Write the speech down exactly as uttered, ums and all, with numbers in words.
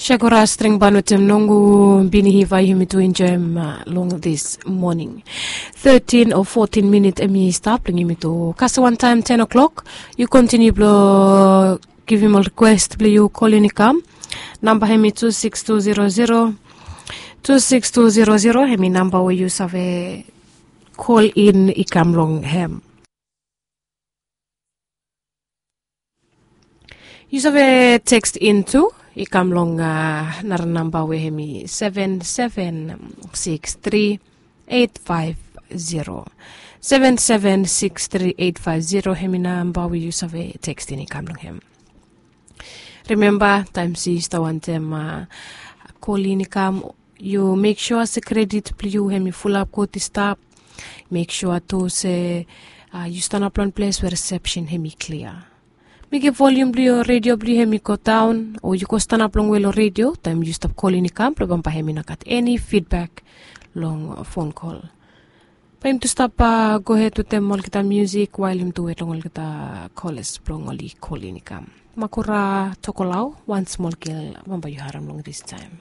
Shakora string ban wetem nongu bini hiva yumi tu enjoem long this morning. Thirteen o fourteen minit em i stap long yumi tu kasi wantaem ten o'clock. Yu kontiniu blong givim ol request blong yu kolin i kam. Namba hem i two six two zero zero. Two six two zero zero hem i namba we yu save kolin i kam long hem. Yu save tekst in tu i kam long nara namba we hem i seven seven six three eight five zero. Seven seven six three eight five zero hem i namba we yu save tekst in i kam long hem. Rimemba taem se yu stap wantem kolin i kam, yu mek sua se kredit blong yu hem i fulap gud i stap. Mek sua tu se yu stanap long ples we risepsen hem i klia. Mekem volium blong yu redio blong yu hem i go daon o yu go stanap longwe long redio taem yu stap kolin i kam blong bambae hem i no gat eni fidbek long fon kol. Bae yum tu stap gohed wetem olgeta musik wael yum tu wet long olgeta kolas blong oli kolin i kam. Makura tokolau wan smol gel bambae yu harem long distaem.